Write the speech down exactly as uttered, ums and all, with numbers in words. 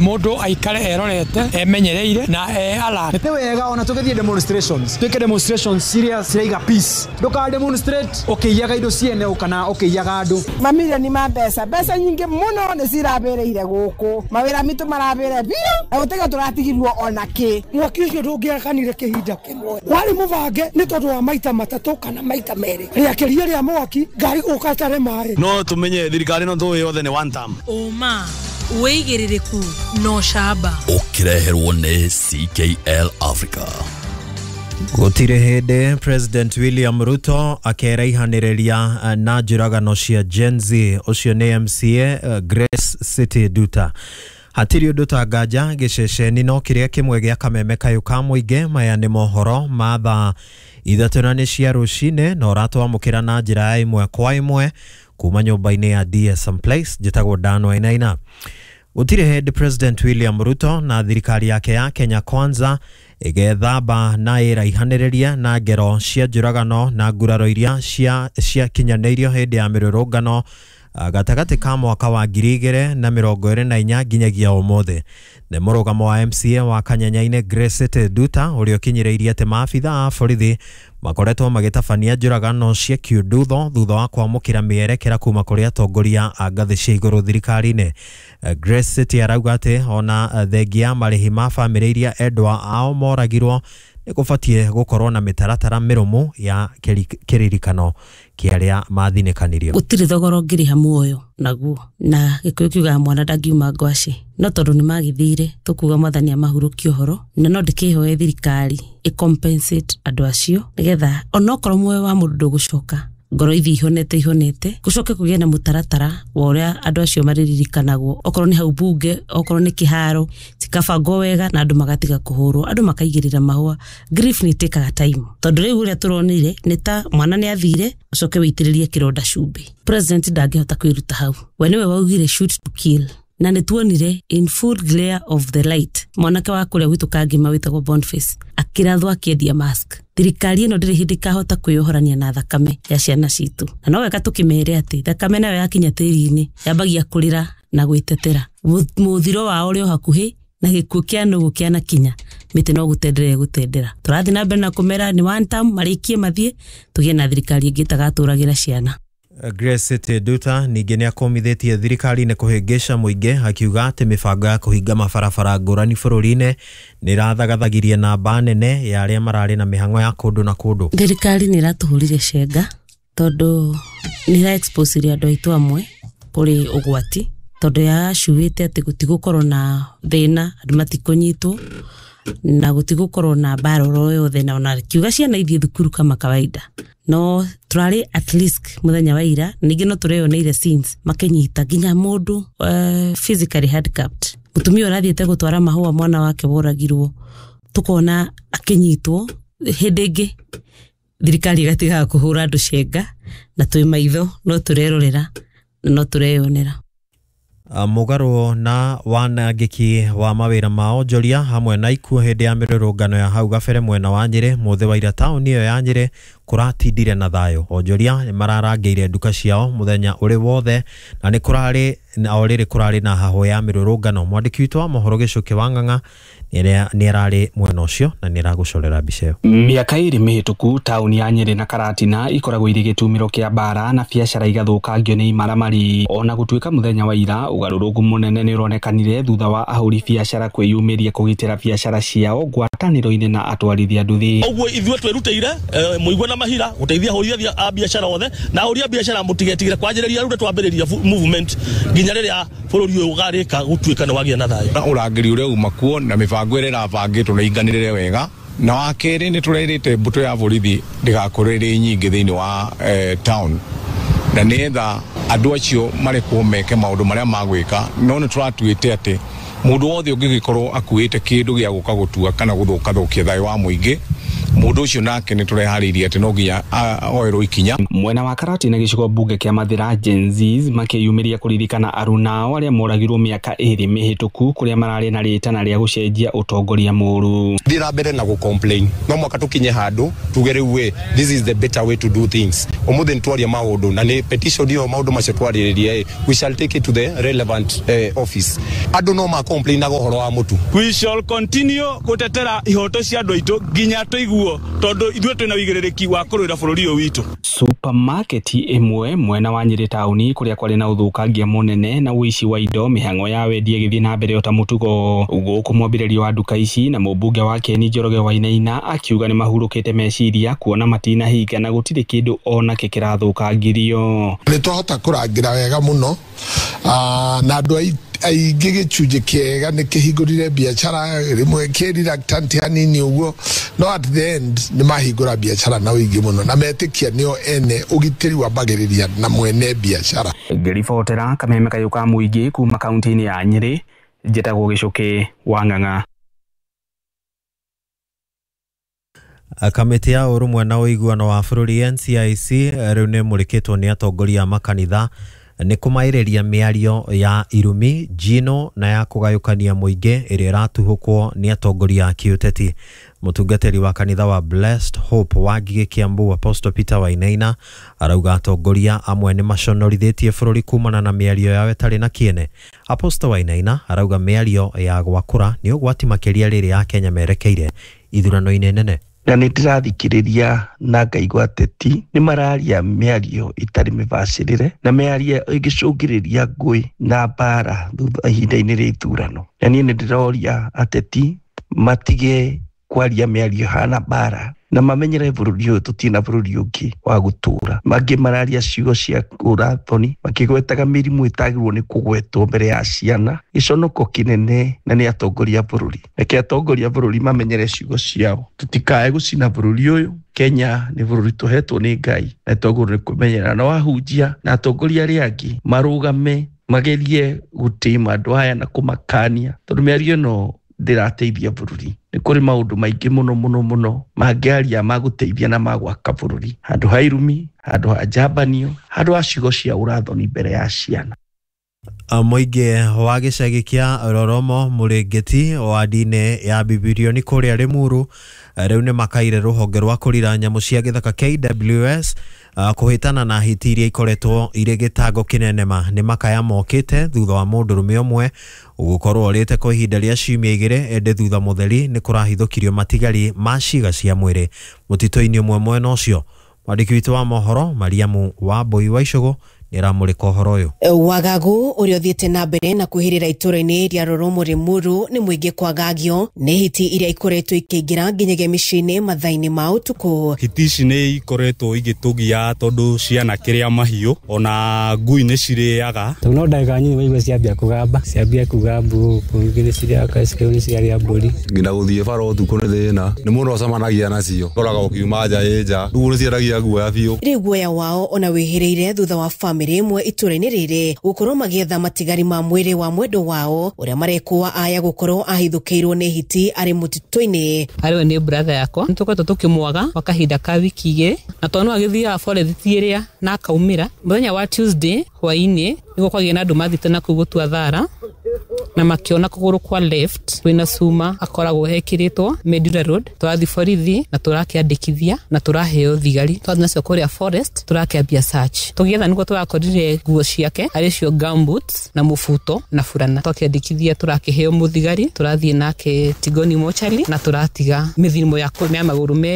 Mundu aikare erorete emenyereire na e alert. Nĩ wega ona tũgĩthiĩ demonstrations, twĩke demonstrations ciria ciraiga peace. Ndũka demonstrate ũkĩiyaga indo ciene kana ũkĩiyaga andũ. Mamirioni ma mbeca, mbeca nyingĩ mũno nĩ cirabĩrĩire gũkũ, mawĩra mitũ marabĩre biũ na gũtiga tũratigirwo ona kĩ. Mwaki ũcio ndũngĩakanire kĩhinda kĩmwe, warĩ mũbange nĩ tondũ wa maita matatũ kana maita merĩ, rĩakĩria rĩa mwaki ngari gũka tare maĩ. No tumenye thirikari no tũĩ yothe nĩ one term. Ũma wĩigĩrĩrĩku no camba ũkĩreherwo nĩ C K L Africa. Gũtirĩ hĩndĩ President William Ruto akeraihanĩrĩria na njũragano cia Gen Z. Ũcio nĩ M C A Grace City Duta. Hatirĩ ũndũ ta nganja gĩceceni no kĩrĩa kĩmwe gĩa kameme kayũ ka mũingĩ. Maya nĩ mohoro ma thaa ithatũ na nĩ cia rũcinĩ na ũratwamũkĩra na njĩra ya ĩmwe kwa ĩmwe kuma nyũmba-inĩ ya D S M Place. Njĩtagwo Dan Wainaina. Gũtirĩ hĩndĩ President William Ruto na thirikari yake ya Kenya Kwanza ĩgethamba na ĩraihanĩrĩria na ngero cia njũragano na nguraro iria cia ciakinyanĩirio hĩndĩ ya mĩrũrũngano gatagatĩ ka mwaka wa ngiri igĩrĩ na mĩrongo ĩrĩ na inya nginyagia ũmũthĩ. Nĩ mũrũgamo wa M C A wa Kanyanyainĩ Grace City Duta ũrĩa ũkinyĩrĩirie atĩ maabitha a borithi makoretwo magĩtabania njũragano cia kiundutho thutha wa kwamũkĩra mĩerekera kuma kũrĩ atongoria a ngathĩ cia igũrũ thirikari-inĩ. Grace City arauga atĩ ona thengia ya marĩhi ma bamĩrĩ iria endwa ao moragirwo nĩ gũbatiĩ gũkorwo na mĩtaratara mĩrũmu ya kĩririkano kĩa arĩa mathinĩkanirio. Gũtirĩ thogora ũngĩrĩha muoyo naguo, na Gĩkũyũ kiugaga mwana ndangiuma ngwacĩ, no tondũ nĩ magĩthire tũkuga mwathani amahurũkie ũhoro, na no ndĩkĩhoe thirikari ĩ compensate andũ acio nĩgetha onokorwo muoyo wa mũndũ ndũgũcoka, ngoro ithiĩ ihonete ihonete, gũcoke kũgĩe na mũtaratara wa ũrĩa andũ acio marĩririkanagwo, okorwo nĩ hau bunge, okorwo nĩ kĩharo, cikabangwo wega na andũ magatiga kũhũrwo, andũ makaigĩrĩra mahũa. Grief nĩ ĩtĩkaga time, tondũ rĩu ũrĩa tũronire nĩ ta mwana nĩ athire ũcoke wĩitĩrĩrie kĩronda cumbĩ. President ndangĩhota kwĩruta hau, we nĩwe waugire shoot to kill, na nĩ tuonire in full glare of the light mwanake wa kũrĩa gwitũ Kangima wĩtagwo Boniface akĩrathwo akĩendia mask. Thirikari ĩno ndĩrĩ hĩndĩ ĩkahota kwĩyohorania na thakame ya ciana citũ, na no wega tũkĩmere atĩ thakame nayo yakinya tĩri-inĩ yambagia kũrĩra na gwĩtetera. Mũthiro wao ũrĩ o hakuhĩ na gĩkuũ kĩa nũgũ kĩanakinya, mĩtĩ no gũtendera ĩgũtendera. Tũrathiĩ na mbere na kũmera nĩ one term marĩkie mathiĩ, tũgĩe na thirikari ĩngĩ ĩtagatũragĩra ciana. Grace City Duta ningĩ nĩ akũmithĩtie thirikari nĩ kũhĩngĩca mũingĩ akiuga atĩ mĩbango ya kũhinga mabarabara ngũrani bũrũri-inĩ nĩ ĩrathagathagirie namba nene ya arĩa mararĩ na mĩhang'o ya kũndũ na kũndũ. Thirikari nĩ ĩratũhũrire cenga tondũ nĩ ĩra expose andũ aitũ amwe kũrĩ ũgwati, tondũ yacuĩte atĩ gũtigũkorwo na thĩna, andũ matikũnyitwo na gũtigũkorwo na mbara oro yothe, na ona kiuga ciana ithiĩ thukuru kama kawaida. No tũrarĩ at risk mũthenya wa ira, ningĩ no tũreyoneire scenes makĩnyita nginya mũndũ uh, physically handicapped, mũtumia ũrathiĩte gũtwara mahũa mwana wake woragirwo, tũkona akĩnyitwo. Hĩndĩ ĩngĩ thirikari ĩgatigaga kũhũra andũ cenga, na twĩ maitho no tũrerorera na no tũreyonera. Mũgarũ na wanangĩki wa mawĩra ma onjoria hamwe na ikuũ hĩndĩ ya mĩrũrũngano ya hau gabere mwena wa Nyĩrĩ mũthĩ wa ira taũni ĩyo ya Nyĩrĩ kũratindire na thayũ. Onjoria nĩ mararangĩire nduka ciao mũthenya ũrĩ wothe na nĩ kũrarĩ na o rĩrĩ kũrarĩ na hahũ ya mĩrũrũngano. Mwandĩki witũ wa mohoro Gĩcũkĩ wa Ng'ang'a nĩ ararĩ mwena ũcio na nĩ aragũcorera mbica ĩyo. Mĩaka ĩrĩ mĩhĩtũku taũni ya Nyĩrĩ na Karatina ikoragwo irĩ gĩtumĩro kĩa mbara na biacara igathũkangio nĩ imaramari. Ona gũtuĩka mũthenya wa ira ũgarũrũku mũnene nĩ ũronekanire thutha wa ahũri biacara kwĩyumĩria kũgitĩra biacara ciao ngwatanĩro-inĩ na atwarithia nduthi. Ũguo ithuĩ twĩrutĩire mũigua na mahira gũteithia ahũri a biacara othe, na ahũri a biacara mũtigetigĩre kwanjĩrĩria rĩu twambĩrĩria movement nginya rĩrĩa bũrũri ũyũ ũgarĩka gũtuĩka nĩ wagĩa na thayũ. Na ũrangĩri ũrĩa uma kuo na mĩbango ĩrĩa ĩrabangĩtwo na inganĩrĩre wega. Na wa kerĩ nĩ tũrerĩte mbũtũ ya borithi ndĩgakorwo ĩrĩ nyingĩ thĩinĩ wa eh, town, na nĩgetha andũ acio marekwo meke maũndũ marĩa magwĩka. No nĩ tũratuĩte atĩ mũndũ wothe ũngĩgĩkorwo akuĩte kĩndũ gĩa gũka gũtua kana gũthũkathũkia thayũ wa mũingĩ Mũndũ ũcio nake nĩ tũreharĩirie atĩ no nginya oerwo ikinya. Mwena wa Karatina gĩcigo mbunge kĩa Mathĩra Gen Zs makĩyumĩria kũririkana arunao arĩa moragirwo mĩaka ĩrĩ mĩhĩtũku kũrĩa mararĩ na rĩtana rĩa gũcenjia ũtongoria mũru. Thiĩ na mbere na gũ-complain, no mwaka tũkinye handũ tuge rĩu ĩ, this is the better way to do things. Ũmũthĩ nĩ twaria maũndũ na nĩ petition ĩyo maũndũ macio twarĩrĩria ĩ, we shall take it to the relevant eh, office. Andũ no ma-complainaga ũhoro wa mũtu. We shall continue gũtetera ihoto cia andũ aitũ nginya tũiguo, tondũ ithuĩ twĩna ũigĩrĩrĩki wa kũrũĩra bũrũri ũyũ witũ. Supermarket ĩmwe mwena wa Nyĩrĩ taũni kũrĩa kwarĩ na ũthũkangia mũnene na ũici wa indo, mĩhang'o ya wendia ĩgĩthiĩ na mbere ota mũtugo. Gũkũ mwambĩrĩrio wa nduka ici na mũmbunge wa Ken Njoroge Wainaina akiuga nĩ mahurũkĩte meciria kuona matinahinga na gũtirĩ kĩndũ onakĩ kĩrathũkangirio. Nĩ twahota kũrangĩra wega mũno na andũ aingĩ gĩcunjĩ kĩega nĩ kĩhingũrire biacara rĩmwe kĩ reluctant hanini ũguo, no at the end nĩ mahingũra biacara na ũingĩ mũno na metĩkia nĩo ene ũgitĩri wambagĩrĩria na mwene biacara. Ngĩribotera kameme kayũ ka mũingĩ kuma kaunti-inĩ ya Nyĩrĩ, njĩtagwo Gĩcũkĩ wa Ng'ang'a. Kamĩtĩ ya ũrũmwe na ũiguano wa bũrũri N C I C rĩu nĩ ĩmũrĩkĩtwo nĩ atongoria a makanitha nĩ kũmaĩrĩria mĩario ya irumi, njino na ya kũgayũkania mũingĩ ĩrĩa ĩratuhũkwo nĩ atongoria a kĩũteti. Mũtungatĩri wa kanitha wa Blessed Hope wa Ngigĩ Kiambu Apostle Peter Wainaina arauga atongoria amwe nĩ maconorithĩtie bũrũri kumana na mĩario yao ĩtarĩ na kĩene. Apostle Wainaina arauga mĩario ya gwakũra nĩ ũgwati makĩria rĩrĩa Akenya merekeire ithurano-inĩ nene. Na nĩ ndĩrathikĩrĩria na ngaigua ateti nĩ mararia mĩario ĩtarĩ mĩbacĩrĩre na mĩario ĩngĩcũngĩrĩria ngũĩ na mbara thutha ihinda-inĩ rĩa ithurano. Na niĩ nĩ ndĩroria ateti matige kwaria mĩario hana mbara na mamenyere bũrũri ũyũ tũtirĩ na bũrũri ũngĩ wa gũtũra. Mangĩ mararia ciugo cia ũrathoni makĩgwetaga mĩrimũ ĩtagĩrĩirwo nĩ kũgwetwo mbere ya ciana, gĩconoko kĩnene na nĩ atongoria a bũrũri. Reke atongoria a bũrũri mamenyere ciugo ciao, tũtikae gũcina bũrũri ũyũ. Kenya nĩ bũrũri tũhetwo nĩ Ngai na twagĩrĩirwo nĩ kũmenyerera na wahunjia na atongoria arĩa angĩ marũgame magerie gũtĩma andũ aya na kũmakania, tondũ mĩario ĩno ndĩrateithia bũrũri. Nĩ kũrĩ maũndũ maingĩ mũno mũno mũno mangĩaria ma gũteithia na ma gwaka bũrũri, handũ ha irumi, handũ ha njambanio, handũ ha ciugo cia ũrathoni mbere ya ciana. Mũingĩ wa gĩcagi kĩa Roromo Mũrĩngĩti wadi-inĩ ya Bibirioni kũrĩa Limuru rĩu nĩ makaire rũhonge rwa kũrira nyamũ cia gĩthaka K W S kũhĩtana na hiti iria ikoretwo irĩ gĩtango kĩnene ma. Nĩ makaya mokĩte thutha wa mũndũrũme ũmwe gũkorwo orĩte kwa ihinda rĩa ciumia igĩrĩ, ĩndĩ thutha mũtheri nĩ kũrahithũkirio matigari ma ciĩga cia mwĩrĩ mũtitũ-inĩ ũmwe mwena ũcio. Mwandĩki witũ wa mohoro Mariamu Wambui wa Icũgũ nĩaramũrĩka ũhoro ũyũ. Wagagu ũrĩa ũthiĩte na mbere na kwĩhĩrĩra itũũra-inĩ rĩa Roromo Limuru nĩ mũingĩ kwagagio nĩ hiti iria ikoretwo ikĩingĩra nginyagia mĩciĩ-inĩ mathaa-inĩ ma ũtukũ. Hiti ici nĩ ikoretwo igĩtũgia tondũ ciana kĩrĩa mahiũ ona ngui nĩ cirĩaga. Tondũ no ndagĩka nyinyi waigua ciambia kũgamba, ciambia kuga mbu, ingĩ nĩ cirĩaga cikĩu nĩ cirarĩa mbũri. Nginya gũthiĩ bara ũtukũ nĩ thĩna, nĩ mũndũ acemanagia nacio, ũkoraga ũkiuma nja ĩ nja, rĩu nĩ ciendagia guoya biũ. Rĩu guoya wao ona wĩhĩrĩire thutha wa famĩlĩ ĩmwe itũũra-inĩ rĩrĩ gũkorwo magĩetha matigari ma mwĩrĩ wa mwendwa wao ũrĩa marekũa aya gũkorwo ahithũkĩirwo nĩ hiti arĩ mũtitũ-inĩ. Arĩ nĩ brother yakwa nĩ tũkoretwo tũkĩmwaga kwa kahinda ka wiki igĩrĩ na tondũ no agĩthiaga forest ĩrĩa na akaumĩra mũthenya wa Tuesday hwaĩ-inĩ nĩguo kwagĩa na andũ mathiĩte na kũu gũtua thara na makiona kũgũrũ kwa left kwĩna cuma akoragwo hekĩrĩtwo Medura Road. Tũrathiĩ borithi na tũrakĩandĩkithia na tũraheo thigari twathiĩ nacio kũrĩa forest tũrakĩambia search tũgĩetha nĩguo tũrakorire nguo ciake arĩ cio gumboots na mũbuto na burana. Twakĩandĩkithia tũrakĩheo mũthigari tũrathiĩ nake Tigoni mochari na tũratiga mĩthimo ya magũrũ.